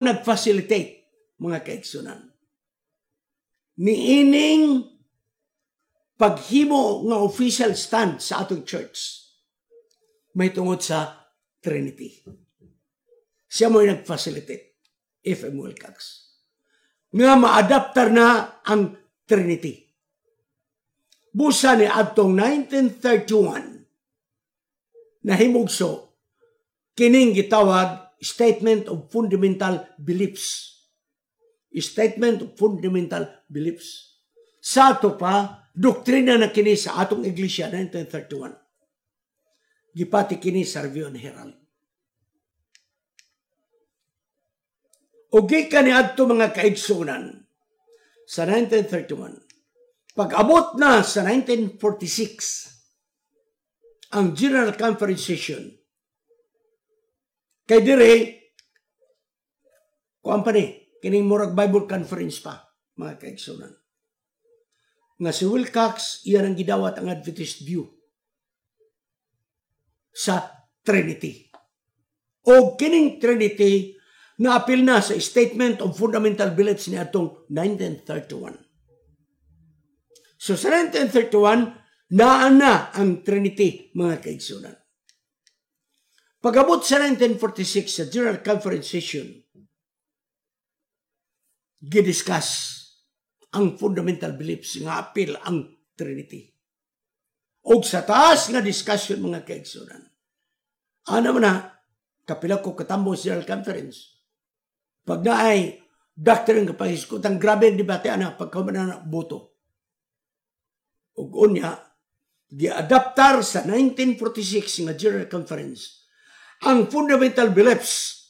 Nag-facilitate, mga kaigsunan, niining paghimo nga official stand sa atong church may tungod sa Trinity. Siya mo nag-facilitate, F.M. Wilcox, nga maadaptar na ang Trinity. Busa ni adtong 1931, nahimugso kining gitawag Statement of Fundamental Beliefs. Statement of Fundamental Beliefs. Sa ato pa, doktrina na kini sa atong iglesia 1931. Gipati kini sa Review and Herald. O gikan ni adto, mga kaigsunan, sa 1931, pag-abot na sa 1946, ang General Conference Session, kay dire, kuan pa ni, kining murag Bible Conference pa, mga kaigsunan. Nga si Wilcox, iyan ang gidawat ang Adventist view sa Trinity. O kining Trinity, naapil na sa Statement of Fundamental Beliefs ni atong 1931. So sa 1931, naa na ang Trinity, mga kaigsunan. Pag-abot sa 1946 sa General Conference Session, gidiscuss ang fundamental beliefs nga apil ang Trinity. Og sa taas nga discussion, mga kaigsunan, ana man na, kapila ko katambo sa General Conference. Pag naay doctrine nga pahisgutan, grabe ang debate ana pagka na boto. Ug unya, giadaptar sa 1946 nga General Conference ang fundamental beliefs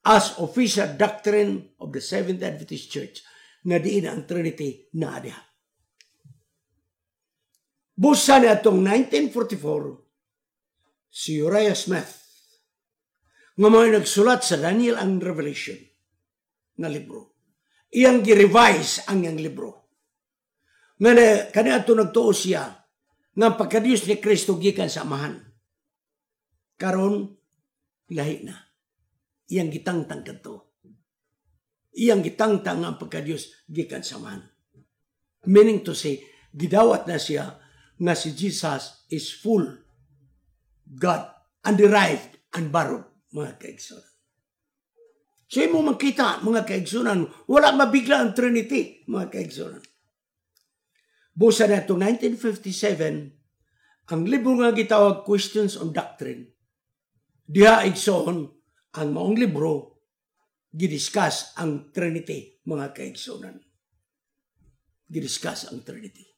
as official doctrine of the Seventh Adventist Church nga diin ang Trinity na diha. Busa ni atong 1944, si Uriah Smith nga mga nagsulat sa Daniel and Revelation nga libro. Iyang gi-revise ang iyang libro. Nga na, kani ato nagtuo siya nga pagkadiyos ni Kristo gikan sa Amahan. Karon lahi na. Iyang gitangtang kadto. Iyang gitangtang ang pagkadiyos gikan sa Amahan. Meaning to say, gidawat na siya nga si Jesus is full God, underived and borrowed, mga kaigsunan. So imo makita, mga kaigsunan, wala mabigla ang Trinity, mga kaigsunan. Busa na itong 1957, ang libro nga gitawag Questions on Doctrine, diha, igsoon, ang maong libro, gidiscuss ang Trinity, mga kaigsunan. Gidiscuss ang Trinity.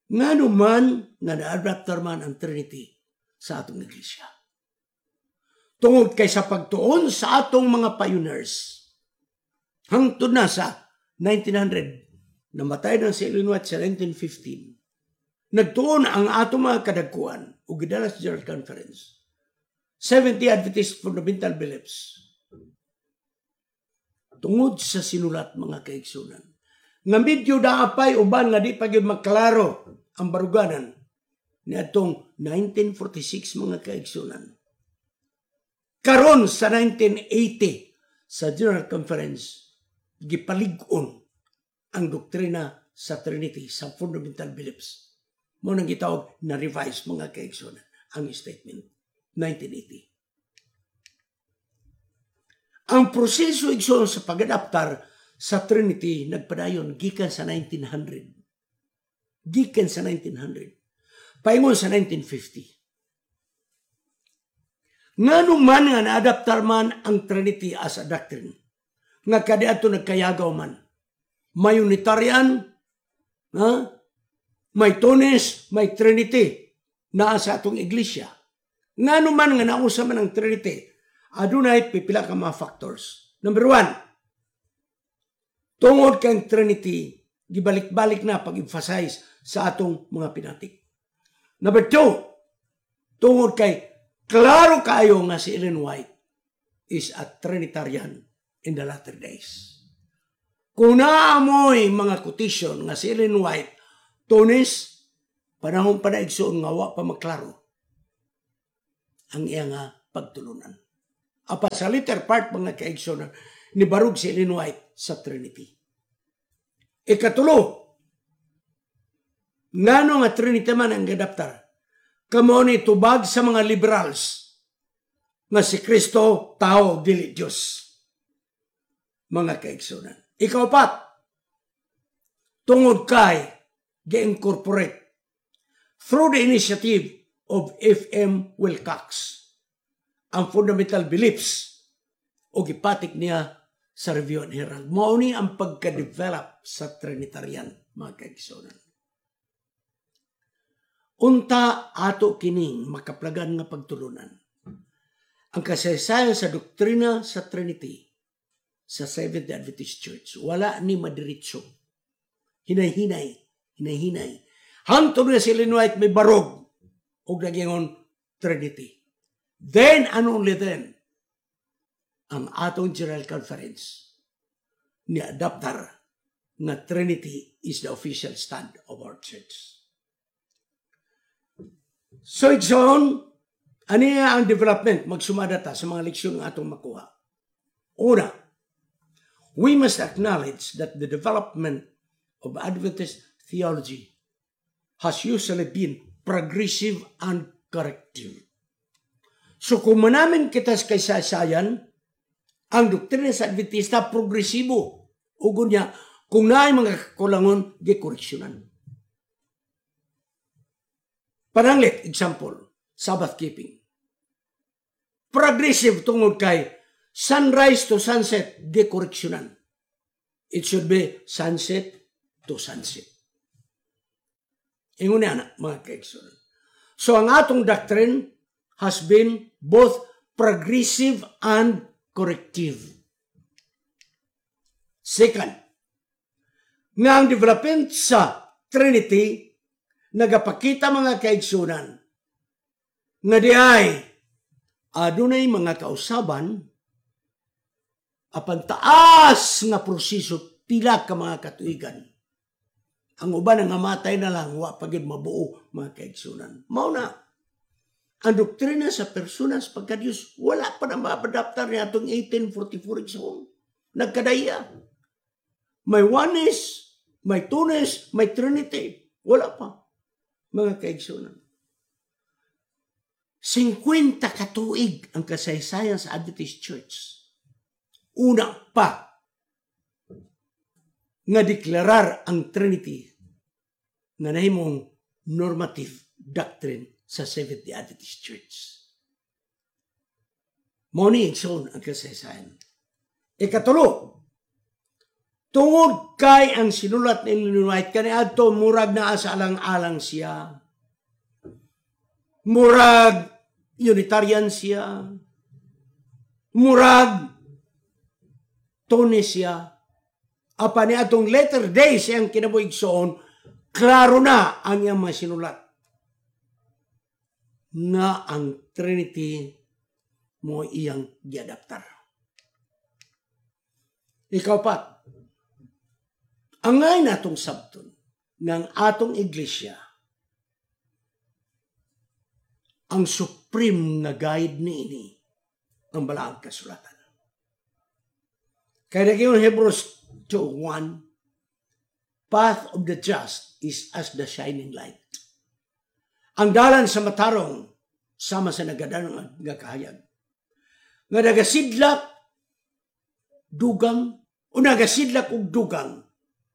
Ngano man nga na-adaptar man ang Trinity sa atong iglesia? Tungod kay sa pagtuon sa atong mga pioneers, hangtod na sa 1900, namatay na si Ellen White sa 1915, nagtuon ang atong mga kadagkuan o gidala sa General Conference, 70 Adventist Fundamental Beliefs. Tungod sa sinulat, mga kaigsunan, nga medyo daapay uban nga di pa gyud maklaro ang baruganan niadtong 1946, mga kaigsunan. Karon sa 1980 sa General Conference, gipalig-on ang doktrina sa Trinity sa fundamental beliefs. Mo nang gitawag na revise, mga kaigsunan, ang statement 1980. Ang proseso, igsoon, sa pag-adaptar sa Trinity nagpadayon gikan sa 1900. Gikan sa 1900. Paingon sa 1950. Ngano man nga naadaptar man ang Trinity as a doctrine? Nga kadiadto nagkayagaw man. May Unitarian, ha? May Tones, may Trinity naa sa atong iglesia. Ngano man nga nausa man ang Trinity? Adunay pipila ka mga factors. Number one, tungod kang Trinity, gibalik-balik na pag-emphasize sa atong mga pinatik. Number two, tungod kay klaro kayo nga si Ellen White is a Trinitarian in the latter days. Kung naamoy mga quotation nga si Ellen White, Tones, panahon pa na, igsoon, nga wa pa maklaro ang iya nga pagtulunan. Apan sa later part, mga kaigsoon, nibarog si Ellen White sa Trinity. Ikatulo, ngano nga Trinity man ang gadaptar? Kay mao ni tubag sa mga liberals nga si Kristo tao, dili Diyos. Mga kaigsunan. Ikaupat, tungod kay gi-incorporate through the initiative of F.M. Wilcox ang fundamental beliefs o gipatik niya sa Review and Herald. Mao ni ang pagka-develop sa Trinitarian, mga kaigsunan. Unta ato kining makaplagan nga pagtulunan. Ang kasaysayan sa doktrina sa Trinity sa Seventh-day Adventist Church, wala ni madiretso. Hinay-hinay, hinay-hinay. Hangtod nga si Ellen White mibarog og nagingon Trinity. Then and only then, ang atong General Conference ni adaptar nga Trinity is the official stand of our church. So igsoon, aniya ang development, magsumada ta sa mga leksyon nga atong makuha. Una, we must acknowledge that the development of Adventist theology has usually been progressive and corrective. So kung manamin kita sa kasaysayan, ang doktrina sa Adventista progresibo. Ugon niya, kung naay mga kakulangon, gikoreksyonan. Pananglit, example, Sabbath keeping. Progressive tungod kay sunrise to sunset, gikoreksyonan. It should be sunset to sunset. Ingon niya na, mga kaigsunan. So ang atong doctrine has been both progressive and corrective. Second, nga ang development sa Trinity nagapakita, mga kaigsunan, nga di ay adunay mga kausaban apan taas nga proseso, pila ka mga katuigan. Ang uban nga matay na lang, wa pa gyud mabuo, mga kaigsunan. Mao na ang doktrina sa personas pagka-Diyos, wala pa na maadaptar niya atong 1844, igsoon. Nagkadaya. May oneness, may twoness, may Trinity. Wala pa, mga kaigsunan. 50 katuig ang kasaysayan sa Adventist Church. Una pa nga deklarar ang Trinity nga nahimong normative doctrine sa Seventh-day Adventist Church. Mao ni, igsoon, ang kasaysayan. Ikatulo, tungod kay ang sinulat ni Ellen White kaniadto murag naa sa alang-alang siya. Murag Unitarian siya. Murag Twoness siya. Apan ni atong later days ang kinabuhi, igsoon, klaro na ang iyang mga sinulat nga ang Trinity mo iyang giadaptar. Ikaupat, angay natong sabton ng atong iglesia, ang supreme nga guide niini ang balaang kasulatan. Kaya naging Hebrews 2:1, "Path of the just is as the shining light." Ang dalan sa matarong sama sa nagadanong nga kahayag. Nga nagasidlak dugang o nagasidlak og dugang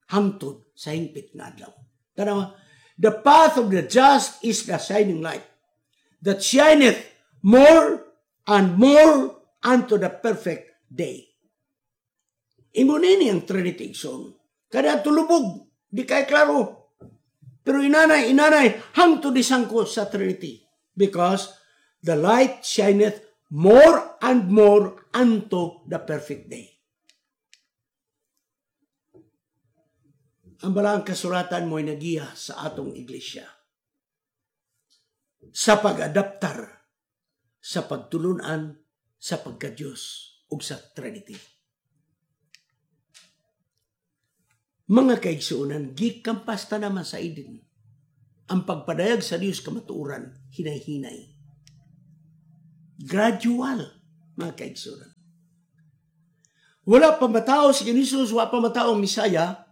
hangtod sa hingpit nga adlaw. Tanawa, the path of the just is the shining light that shineth more and more unto the perfect day. Ingon ini ang Trinity, igsoon. Kada tulubog, di kay klaro. Pero inanay, inanay, hangtod isangko sa Trinity. Because the light shineth more and more unto the perfect day. Ang balaang kasulatan mo'y nagiya sa atong iglesia sa pag-adaptar sa pagtulunan sa pagka-Diyos ug sa Trinity. Mga kaigsuonan, gikampas ta naman sa Eden ang pagpadayag sa Diyos kamatuoran, hinay-hinay. Gradual. Mga kaigsunan. Wala pa matao si Jesus, wala pa matao ang Misaya,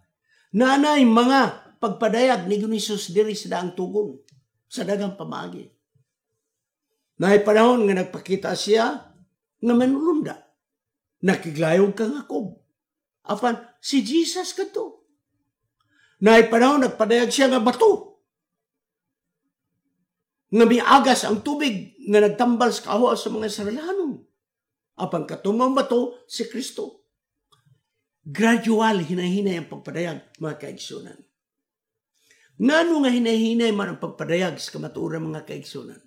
naanay mga pagpadayag ni Jesus diri sa daang tugon, sa dagang pamaagi. Naay panahon nga nagpakita siya nga manulunda. Nakiglayog kang Jacob. Apan, si Jesus kadto. Naay panahon nagpadayag siya nga bato. Nga miagas ang tubig nga nagtambal sa kahuas sa mga Israelano. Apan katumang bato si Kristo. Gradual, hinahinay ang pagpadayag, mga kaigsunan. Ngano nga hinahinay man ang pagpadayag sa kamatuoran, mga kaigsunan?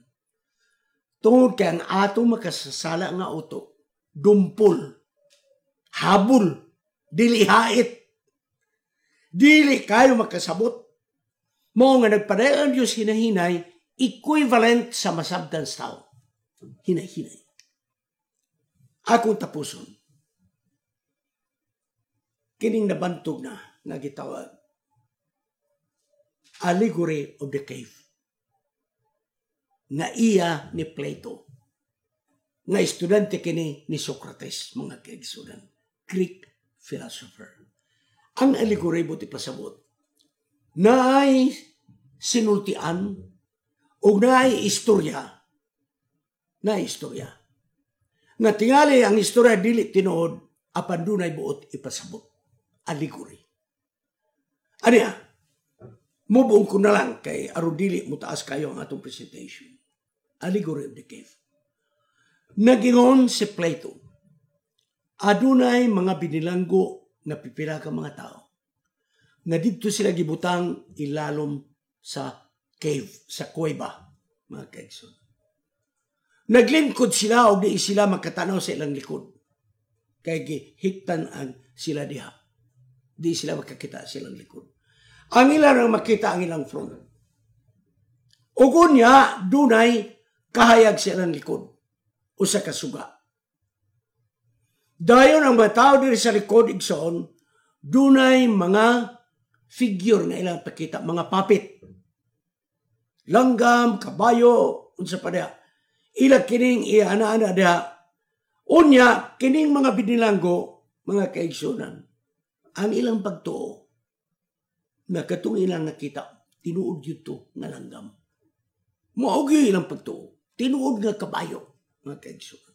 Tungod kay ang atong makasasala nga utok, dumpol, habol, dili hait, dili kayo makasabot. Mao nga nagpadayag ang Diyos hinahinay, equivalent sa masabtan sa tao. Hinahinay. Akong tapuson. Kining nabantog na nga gitawag Allegory of the Cave nga iya ni Plato, nga estudyante kini ni Socrates, mga kaigsunan, Greek philosopher. Ang allegory mo pasabot naay sinultian o naay istorya, naay istorya nga tingali ang istorya dili tinuod, apan dunay buot ipasabot. Allegory. Aniya, mubuong ko na lang kay aron dili mo taas kayo ang atong presentation. Allegory of the Cave. Nagingon si Plato, adunay mga binilanggo nga pipila ka mga tao nga didto sila gibutang ilalom sa cave, sa kuweba, mga kaigsoon. Naglingkod sila og di sila makatanaw sa ilang likod. Kay gihiktan ang sila diha. Di sila makakita sa ilang likod. Ang ilang ang makita ang ilang front. Ug unya dunay kahayag sa ilang likod usa ka suga. Dayon ang mga tao diri sa likod, igsoon, dunay mga figure nga ilang pakita, mga puppet. Langgam, kabayo, unsa pa diha. Ila kining iana-ana diha. Unya kining mga binilanggo, mga kaigsunan, ang ilang pagtuo na katong ilang nakita, tinuod yun to nga langgam. Mao gyud ilang pagtuo, tinuod nga kabayo, mga kaigsunan.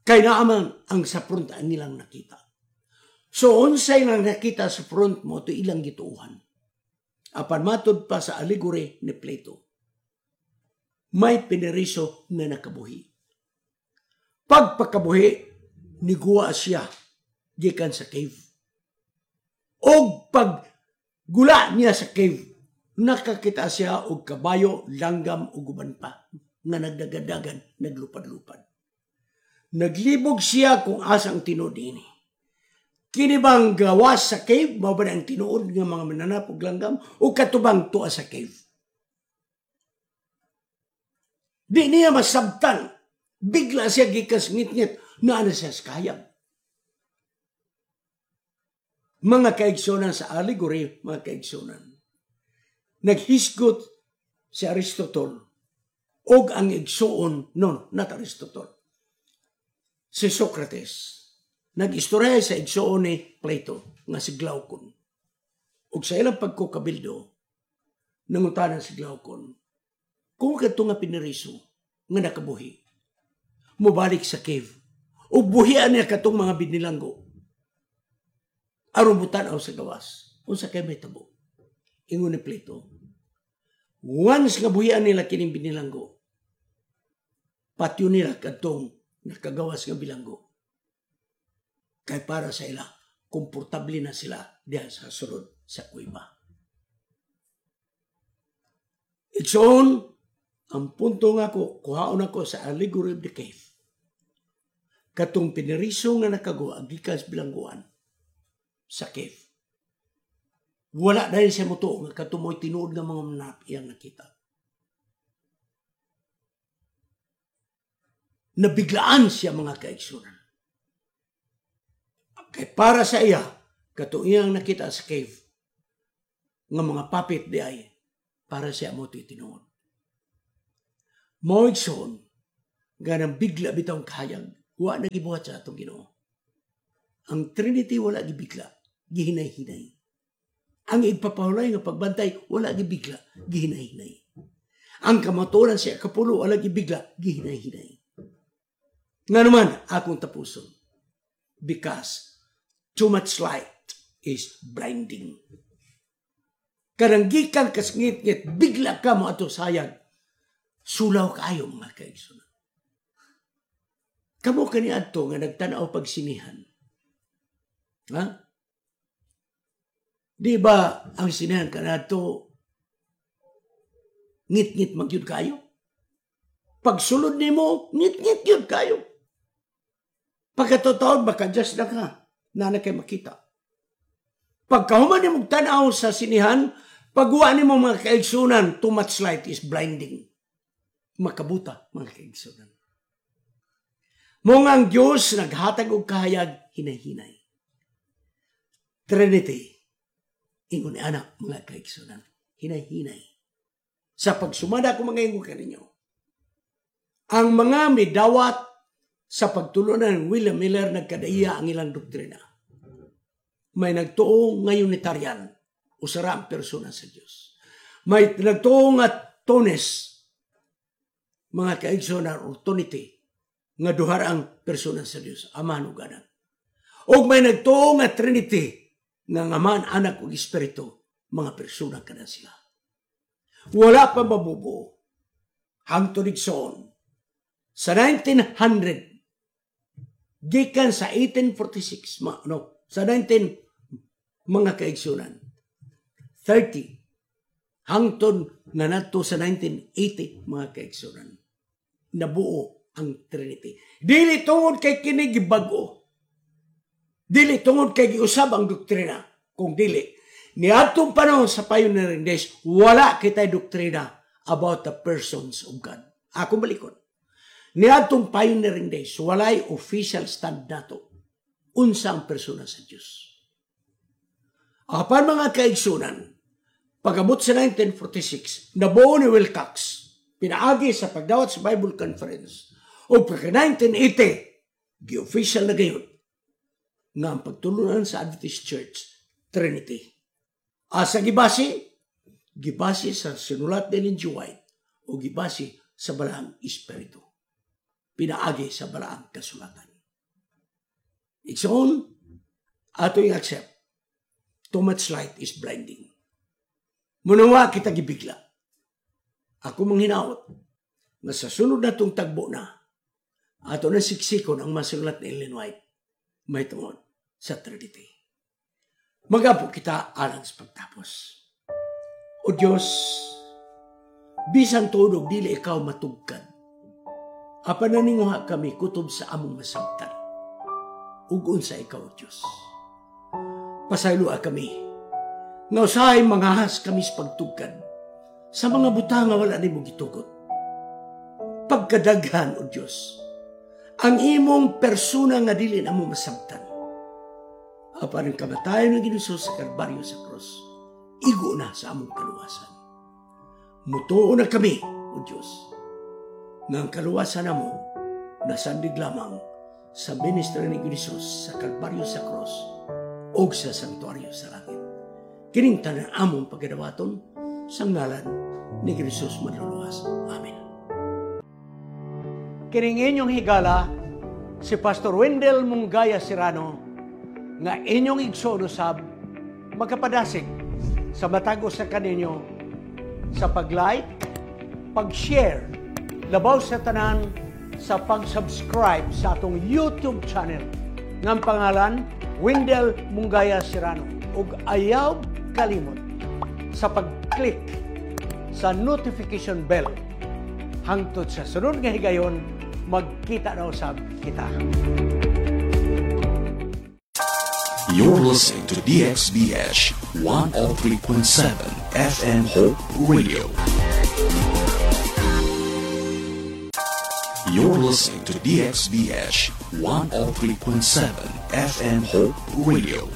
Kay naaman ang sa front ang ilang nakita. So unsay lang nakita sa front mo to ilang gituohan. Apan matud pa sa allegory ni Plato, may pineriso nga nakabuhi. Pagpakabuhi, niguwa siya gikan sa cave. Og paggula niya sa cave, nakakita siya og kabayo, langgam ug uban pa nga nagdagadagan, naglupad-lupad. Naglibog siya kung asang tinuod ini. Kini bang gawas sa cave, mao ba ang tinuod nga mga mananap ug langgam, o katubang tuwa sa cave? Di niya masabtan. Bigla siya gikas ngit-ngit, naa na siya sa kahayag. Mga kaigsunan, sa allegory, mga kaigsunan, naghisgot si Aristotle og ang igsuon, no, not Aristotle, si Socrates, nag-istorya sa igsuon ni Plato nga si Glaucon. Og sa ilang pagkukabildo, nangutanan si Glaucon, kung kadto nga pineriso nga nakabuhi, mubalik sa cave, ug buhian niya katong mga binilanggo, aron mutan-aw sa gawas, unsa kay may tabo? Ingon ni Plato, once nga buhian nila kining binilanggo, patyo nila kadtong nakagawas nga bilanggo. Kay para sa ila, komportable na sila diha sa sulod sa kuweba. Igsoon, ang punto nga ko, kuhaon ako sa allegory of the cave. Katong pineriso nga nakaguwa, gikan sa bilangguan sa cave. Wala dahil siya mutuo nga katumoy tinuod nga mga manap iyang nakita. Nabiglaan siya, mga kaigsunan. Kay para sa iya, katong iyang nakita sa cave, nga mga puppet di ay, para siya mo tinuod. Mao igsoon, Ganang bigla bitawng kahayag, wa na gibuhat sa atong Ginoo. Ang Trinity wala gibigla, gihinay-hinay. Ang igpapahulay nga pagbantay, wala gibigla, gihinay-hinay. Ang kamatuoran sa kapulo, wala gibigla, gihinay-hinay. Nga naman, akong tapuson. Because too much light is blinding. Kanang gikan kas ngit-ngit, bigla ka mo ato sayag. Sulaw kaayo, mga kaigsunan. Kamo kani adto nga nagtan-aw pag sinihan. Ha? Di ba ang sinihan kanadto ngit-ngit magyud kayo? Pagsulod nimo, ngit-ngit gyud kayo. Pagkatotoo, maka-adjust na ka. Na kay makita. Pagkahuman nimo tanaw sa sinihan, pagwa nimo, mga kaigsunan, too much light is blinding. Makabuta, mga kaigsunan. Mao nga ang Diyos naghatag og kahayag hinay-hinay. Trinity, ingon ni ana, mga kaigsunan, hinay-hinay. Sa pagsumada ko mga ingon kaninyo, ang mga midawat sa pagtulunan ng William Miller, nagkadaiya ang ilang doktrina. May nagtuo nga Unitarian, usara ang persona sa Diyos. May nagtuo nga Tonist, mga kaigsunan, or Tonity, nga duha ang persona sa Diyos, Ama ug Anak. Og may nagtuo nga Trinity, nga ang Ama, Anak ug Espiritu, mga persona kada sila. Wala pa mabubuo. Hangtod igsoon, sa 1900, gikan sa 1846, ma, no, sa 19, mga kaigsunan, 30, hangtod nga nadto sa 1980, mga kaigsunan, nabuo ang Trinity. Dili tungod kay kini gibag-o. Dili tungod kay giusab ang doktrina. Kung dili, niadtong panahon sa pioneering days, wala kitay doktrina about the persons of God. Ako balikon. Niadtong pioneering days, walay official stand nato. Unsa ang persona sa Dios. Apan, mga kaigsunan, pag-abot sa 1946, nabuo ni Wilcox, pinaagi sa pagdawat sa Bible Conference, o pagka 1980, gi-official na gayon nga ang pagtulunan sa Adventist Church, Trinity. Asa gibase? Gibase sa sinulat ni Ellen G. White o gibase sa Balaang Espiritu. Pinaagi sa Balaang Kasulatan. Igsoon, ato yung accept. Too much light is blinding. Munawa kita gibigla. Ako manghinaot nga sa sunod na tong tagbo na, ato na siksikon ang masulat ni Ellen White may tungod sa Trinity. Magapo kita alang sa pagtapos. O Diyos, bisan tuod dili ikaw matugkad, apan naninguha kami kutob sa among masabtan. Ug unsa ikaw, O Diyos. Pasayloa kami nga usahay mangahas kami sa pagtugkad sa mga butang nga wala nimo gitugot. Pagkadaghan, O Diyos, ang imong persona nga dili na mo masabtan. Apan ang kamatayon ng Ginoo sa Kalbaryo sa krus, igo na sa among kaluwasan. Mutuo na kami, O Diyos, nga ang kaluwasan namo nasandig lamang sa ministry ni Jesus sa Kalbaryo sa krus o sa santuario sa langit. Kining tanan among pagadawaton sa ngalan ni Jesus Manluluwas. Amen. Kining inyong higala, si Pastor Wendell Mungaya Serrano, nga inyong igsoon usab, makapadasig sa matag usa kaninyo sa pag-like, pag-share, labaw sa tanan sa pag-subscribe sa atong YouTube channel nga ang pangalan Wendell Mungaya Serrano, ug ayaw kalimot sa pag-click sa notification bell. Hangtod sa sunod nga higayon, magkita na usab kita. You're listening to DXBH 103.7 FM Hope Radio. You're listening to DXBH 103.7 FM Hope Radio.